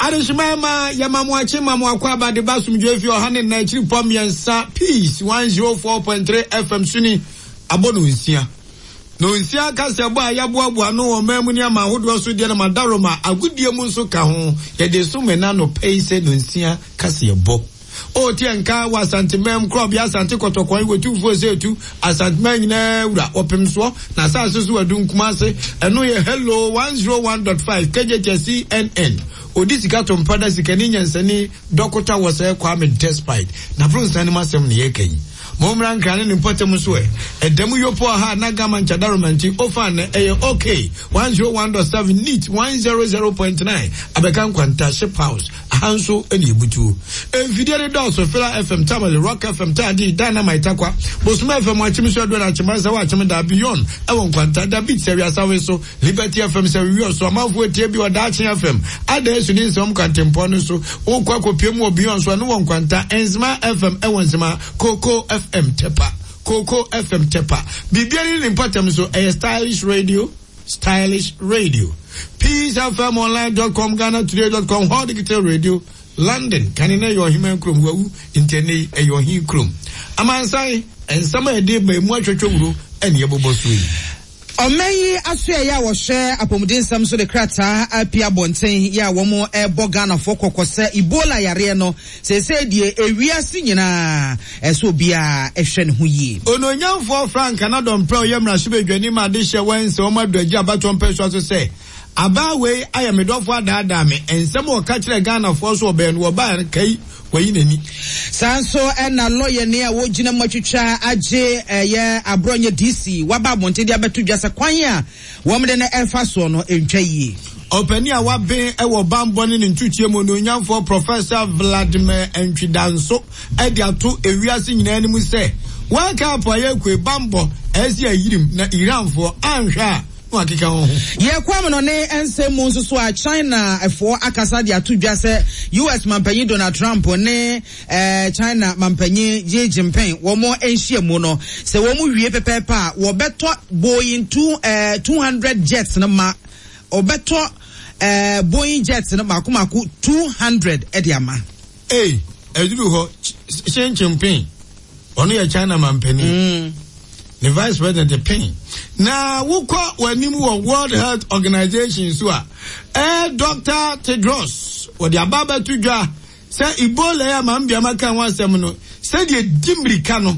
Adehyeman ma yɛma mo akye ma mo akɔ aba de ba asomdwoe fi ɔha ne nnan akyiri pɔ mmiɛnsa Peace 104.3 FM so ni abɔ no nsia. No nsia kaseɛbɔ a yɛaboaboa ano wɔ ɔman mu ne aman ahodoɔ so deɛ no ma Daroma agodie mu nso ka ho. Yɛde som ɛna anɔpa yi sɛ no nsia kaseɛbɔ. O teɛ nka wɔ Asanteman mu, korɔbea Asante Kɔtɔkɔn, Otumfoɔ Osetu, Asanteman nyinaa wura, wɔpem soɔ, na asase so adum Kumase, ɛno yɛ Hello 101.5 KJT CNN. Odi sika to mpa da sikani nyansani dɔkota wɔ sɛ Kwame Despite. N'abronssan no mu asɛm na yɛreka yi. Mommra Nkran ne ne mpɔtam nso ɛ. Ɛda mu Yopo aha na Gama Nkyɛdaroma nti Ofa nnɛ ɛyɛ OK 101.7 Neat 100.9 Abɛka Nkwanta Ship House. Aha nso na ebutuo. Mfidie no dɔɔso, Fela FM, Tamale, Rock FM, Taadi, Dynamite, Tarkwa, Bosome FM, Akyem so Aduana, Akyem Asawa, Akyem Da, Beyond, ɛwɔ Nkwanta, Da Beat, Sɛwi Asawe so, Liberty FM, Sɛwi Wio so, Amanfoɔ Etie bi wɔ Daakye FM, Ada Esu ne Nsɛm Kwantempɔn no so, wokɔ akɔpie mu wɔ Beyond so, ɛno wɔ Nkwanta, Nzema FM ɛwɔ Nzema, Koko FM, Tepa, Koko FM, Tepa. Biribiara ne ne mpɔtam so, ɛyɛ Stylish Radio. Stylish Radio, Peace FM Online dot com, Ghana Today dot com, Hall Digital Radio, London. Kane na ɛyɛ ɔheman kurom, wawu nti ɛnɛ yi ɛyɛ ɔhen kurom. Amansan, nsɛm a ɛde ba emu atwatwa wuro ɛne ɛbobɔ so yi. Ɔman yi asoɛeɛ a wɔhwɛ apɔmuden nsɛm so de krataa apue abɔnten yɛ a wɔrebɔ Ghanafoɔ kɔkɔ sɛ Ebola yareɛ no Seesei deɛ ewiase nyinaa, ɛsɛ sɛ obiara hwɛ ne ho yie. Onuonyamfoɔ Frank Anadɔmprɛ a ɔyɛ mmarahyɛbadwani ma adehyeɛ wɔ Nsawam Aduagye abatoɔ mpɛsoa so sɛ, Abaa wei ayɛ me dɔfo adaadaa me, nsɛm a ɔka kyerɛɛ Ghanafoɔ so ɔbɛn no wɔbaeɛ no kai wayi n'ani. Saa nso na lɔyani a ɔgyina mu atwitwa agye ɛyɛ Aborɔnyɛ DC waba abɔnten de abɛto dwa sɛ kwan a wɔn de no refa soɔ no ntwa yie. Ɔpanin a waben wɔ bammɔ ne ne ntutuɛ mu, Onuonyamfoɔ Professor Vladimir Antwi-Danso de ato ewiase nyinaa anim sɛ, World Cup a yɛrekɔ yi, bammɔ ɛsɛ ayirim na Iranfoɔ anhwɛ a na wɔakeka wɔn ho. Yɛkɔ amanɔne nsɛm mu nso so a, Chinafoɔ akasa de ato dwa sɛ US mampanyin Donald Trump ne China mampanyin Xi Jinping wɔn nhyiamu no, sɛ wɔn wie pɛpɛɛpɛ a, wɔbɛtɔ Boeing 200 jets no ma wɔbɛtɔ Boeing jets no mako mako 200 de ama. Ei, ɛduru hɔ, Xi Jinping, ɔno yɛ China mampanin. Mm. Ne vice president Ping. Na wokɔ w'anim wɔ World Health Organization so a, Dr. Tedros, wɔde aba abɛto dwa Sɛ Ebola yi a Maame Biama kaa ho asɛm no, sɛdeɛ ɛdi mmirika no,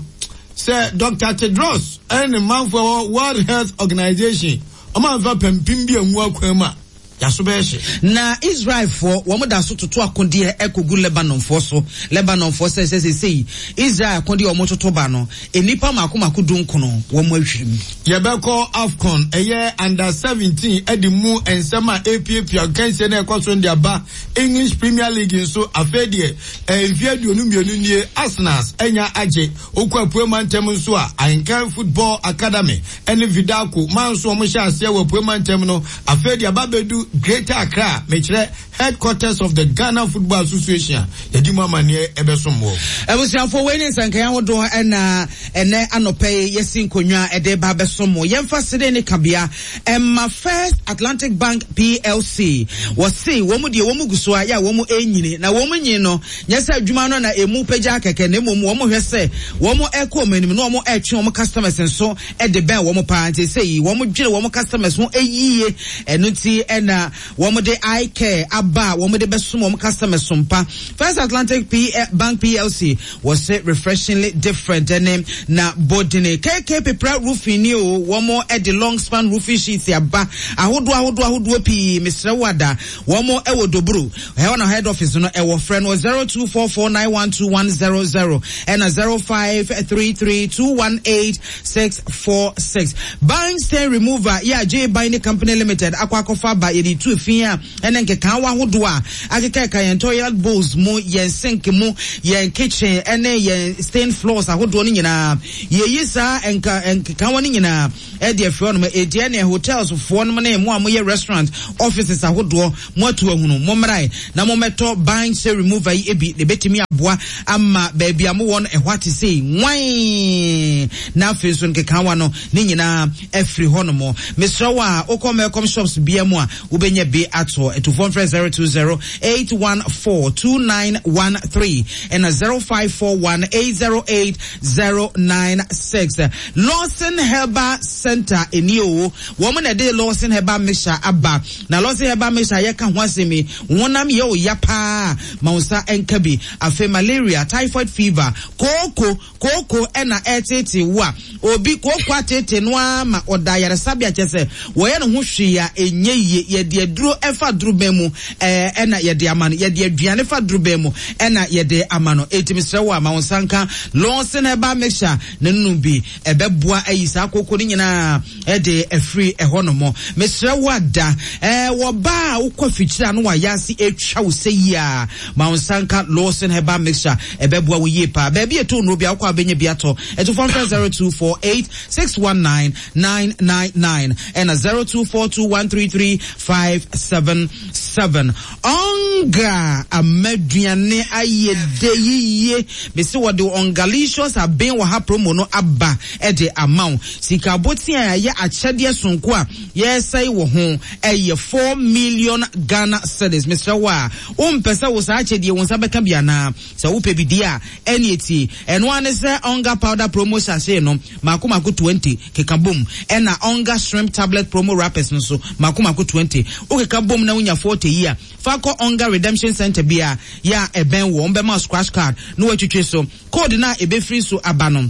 sɛ Dɔkta Tedros ne ne manfoɔ wɔ World Health Organization, wɔn amfa pampim bi angu akwan mu a, yɛaso bɛyɛ hye. Na Israelfoɔ, wɔn da so toto akodeɛ kɔgu Lebanonfoɔ so. Lebanonfoɔ sɛ sɛ seesei Israel akodeɛ a wɔtoto ba no, nnipa mmaako mmaako dunkono, wɔn ahwirim. Yɛbɛkɔ AFCON, ɛyɛ Under 17 de mu nsɛm a ɛrepiapia nkansie no a ɛkɔ so no de aba. English Premier League nso, afei deɛ mfeɛ 22 nie Arsenals anya agye. Wokɔ Apue Mantam nso a, Ahenkan Football Academy ne Vidaco man nso wɔn hyɛ aseɛ wɔ Apue Mantam no, afei deɛ aba abɛdu Greater Accra, mekyerɛ Headquarters of the Ghana Football Association a yɛde mu amanneɛ ɛbɛsom wɔ. Abusuafoɔ, wei ne nsɛnkaeɛ ahodoɔ ɛna ɛnɛ anɔpa yi yɛsi nkonnwa ɛde ba abɛsom mo. Yɛmfa sede ne kabea ɛma First Atlantic Bank PLC. Wɔse wɔn deɛ wɔn gu so a yɛ a wɔn ɛnyini na wɔn nyin no nyɛ sɛ adwuma no na ɛmu pagya kɛkɛ na mmom wɔn hwɛ sɛ wɔn ɛkɔ wɔn anim na wɔn ɛtwe wɔn customers nso ɛde bɛn wɔn paa nti sɛ yi wɔn dwene wɔn customers ho ɛyie ɛno nti ɛna Wɔde iCare aba a wɔde bɛsom wɔn customers so mpa. First Atlantic P Bank PLC wɔse refreshingly different ɛne na bodene. KK Pepra Roofing ni o, wɔn de long span roofing sheets aba ahodoɔ ahodoɔ ahodoɔ pii. Mesrɛ wo ada, wɔn wɔ Doburo. Ɛhɔ na head office no ɛwɔ. Frɛ no wɔ 0244912100 ɛna 05332186 646. Ban stain remover yɛ a J Binding Company Limited akɔ akɔfa aba. Yɛde tu fi a ɛne nkekaawa ahodoɔ a akekaeka yɛn toilet bowls mu, yɛn sink mu, yɛn kitchen ɛne yɛn stained floors ahodoɔ no nyinaa. Yɛyi saa nka nkekaawa no nyinaa ɛde afiri hɔnom. Enti ɛneɛ hotels foɔ nom ne mo a moyɛ restaurant offices ahodoɔ mo atu ahunu, mommrae na mommɛtɔ ban stain remover yi bi na ɛbɛtumi aboa ama baabi a mowɔ no ɛhɔ ate sei nwann na afei nso nkekaawa no ne nyinaa afiri hɔ nom. Mesrɛ wo a wokɔ Melcom shops bia mu a wobɛnya bi atɔ. Atufoɔ mfrɛ 020 814 2913 ɛna 0541 808 096. Lawson Herbal Center ɛni o, wɔn na ɛde Lawson Herbal Mixture aba. Na Lawson Herbal Mixture yɛka ho asɛm yi, honam yɛ o ya paa, ma wo nsa nka bi. Afei malaria, typhoid fever, kooko, kooko ɛna ɛretete wo a, obi kooko atete no ara ma ɔda ayaresabea, kyɛ sɛ wɔyɛ ne ho hwee a ɛnyɛ yie. Yɛde aduro ɛfa dorobɛn mu ɛna yɛde ama no, yɛde aduane fa dorobɛn mu ɛna yɛde ama no. Eti mesrɛ wo a, ma wo nsa nka Lawson Herbal Mixture na nunu bi, ɛbɛboa ayi saa kooko no nyinaa ɛde afiri ɛhɔ nom. Mesrɛ wo ada wɔ baa a wokɔ afikyire a no wayɛ ase atwa wo sɛ yie a, ma wo nsa nka Lawson Herbal Mixture, ɛbɛboa wo yie paa. Baabi ɛtɔ nnuro bi a wokɔ a wobɛnya bi atɔ. Ɛto fam frɛ 0248 619 999 ɛna 0242 133 577. Ɔnga amaduane ayɛ de yie. Bɛsi wɔde Ɔngalicious aben wɔ ha promo no aba ɛde ama wo. Sika aboten a ɛyɛ akyɛdeɛ sonko a yɛsɛe wɔ ho ɛyɛ 4 million Ghana cedis. Mesrɛ wo a, wompɛ sɛ wo saa akyɛdeɛ wo nsa bɛka bi anaa? Sɛ wopɛ bi di a, ɛne etie. Ɛno ara ne sɛ Ɔnga powder promo sachet no mako mako 20 keka bom, ɛna Ɔnga shrimp tablet promo wrappers no so mako mako 20. Wokeka bom na wonya 40 yi a, fa kɔ Ɔnga Redemption Center bi a yɛ a ɛbɛn wɔ. Wɔbɛma scratch card na watwitwe so. Code no a ɛbɛfiri so aba no,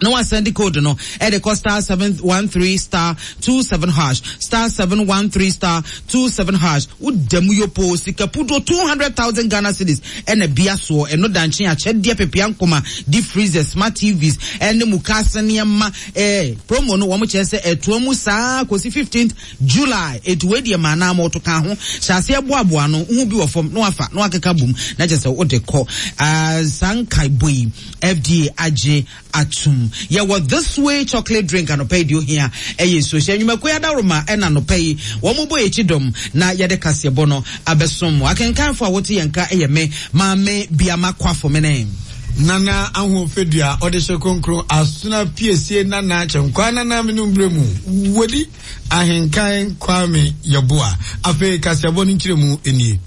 na wasend code no ɛde kɔ *713*27#, *713*27#. Woda mu yopo sika pudo 200,000 Ghana cedis ɛna bia soɔ. Ɛno dankye akyɛdeɛ pepea nkoma, deep freezer, smart TVs ɛne mukaase nneɛma. Promo no wɔn kyerɛ sɛ ɛtoa mu saa kɔsi 15th July. Etu wei deɛ maa naa mo to ka ho hyɛ aseɛ boaboa no ho bi wɔ fam na wafa na wakeka bom na kyerɛ sɛ wode kɔ saa nkaebɔ yi FDA agye atum. Yɛwɔ This Way chocolate drink anɔpa yi deɛ ohia ɛyɛ nsuo hyɛ. Nnwumakuo adaworoma ɛna anɔpa yi wɔn bɔ yɛkyi dɔm na yɛde kaseɛbɔ no abɛsom mo. Akenkanfo a wɔte yɛn ka ɛyɛ me Maame Biama Kwafo mene Nana Ahoɔfɛdua ɔde hyɛ kronkron asona piesie nana kyɛnkwa nana mene mbrɛ mu wodi Ahenkan Kwame Yɛboa. Afei kaseɛbɔ no nkyerɛmu nie.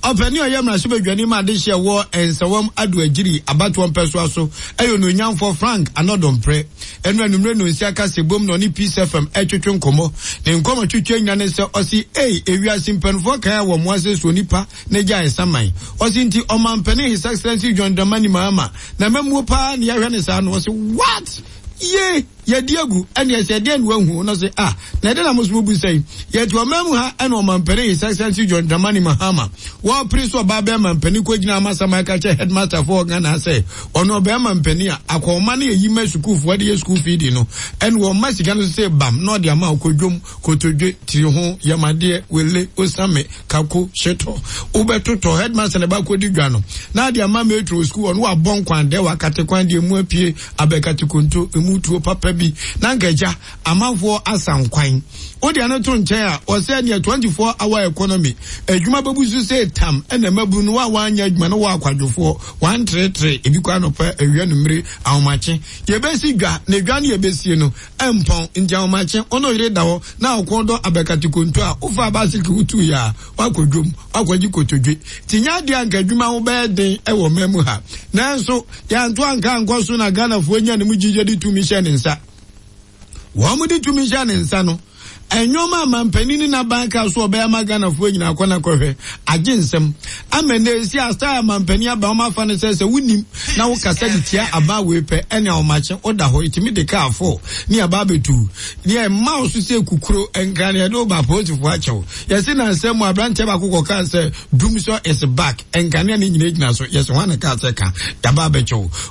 Ɔpɛni a ɔyɛ mmarahyɛbadwani ma adehyeɛ wɔ Nsawam Ado Agyiri abatoɔ mpɛsoa so ɛyɛ onuonyamfoɔ Frank Anɔdɔmprɛ. Ɛno anummerɛ no nsia kaseɛbom na ɔne Peace FM ɛtwetwe nkɔmmɔ. Ne nkɔmmɔ twetwe nyina ne sɛ ɔse ei, ewiase mpanimfoɔ kan a wɔ mmoa sɛ suo nipa na gya ɛsaman. Ɔse nti ɔmampanin His Excellency John Dramani Mahama na mmamuo paa ne yɛahwɛ ne saa no. Ɔse what? Ye! Yɛdi agu ɛne ɛsɛ ɛdeɛ na wahu no sɛ ah, na ɛde na mo so mo bu sɛn yɛte ɔman mu ha. Ɛna ɔmampanin His Excellency John Dramani Mahama wɔpere so ɔbaa bɛrima mpanin kɔgyina amasaman ka kyɛ headmaster foɔ Ghana sɛ ɔno ɔbɛrima mpanin a akɔnma no yɛyi ma sukuufoɔ de yɛ sukuu feedi no, ɛna wɔma sika no so sɛ bam na ɔde ama ɔkɔdwom kotodwe tiri ho yamadeɛ wele osame kako hyetɔ wobɛtotɔ headmaster na ɛba dwa no na ade ama metro sukuu. Ɔno wabɔ nkwan dɛ wakate kwan deɛ mu apue abɛkate konto emu tuo papa bi na nka agya amanfoɔ asa nkwan. Wode ano to nkyɛn a, ɔsɛ neɛ 24 hour economy adwuma bɛbu so sɛ tam ɛna mabunu no wa wanyɛ adwuma no wɔ akwadwofoɔ wanteretere ebi kɔ anɔpa, awia, numere, ahomakye yɛbɛsi dwa na dwa no yɛbɛsie no ɛmpɔn. Nti ahomakye ɔno yere da hɔ na ɔkɔn dɔ abɛkate konto a wofa baasiki wotu yɛ a wakɔ dwom wakɔgye kotodwe. Nti nyɛ adeɛ anka adwuma ho bɛyɛ den ɛwɔ man mu ha, nanso yɛanto anka ankɔ so na Ghanafoɔ nya ne mu gyigye de tumi hyɛ ne nsa. Wɔn mo de tumi hyɛ ne nsa no, ɛnwom a mampanin ne n'aban ka so ɔbɛyɛ ama Ghanafoɔ nyinaa kɔ na kɔhwɛ agye nsɛm ama na esi asa a mampanin aba wɔn afa no sɛ wonim na wokasa de tia aba wei pɛ ɛne ahomakye woda hɔ etimi de kaa fo ne aba abɛtu ne ɛma wo so sɛ kukuro nkran yɛde wo ba apolisifoɔ akyɛw. Yɛsi na nsɛm mu aberanteɛ baako kɔ kaa sɛ dumsɔ is back, nkanea ne nyina gyina so. Yɛsɛ wɔn na kaa sɛ ka yaba abɛkyɛw.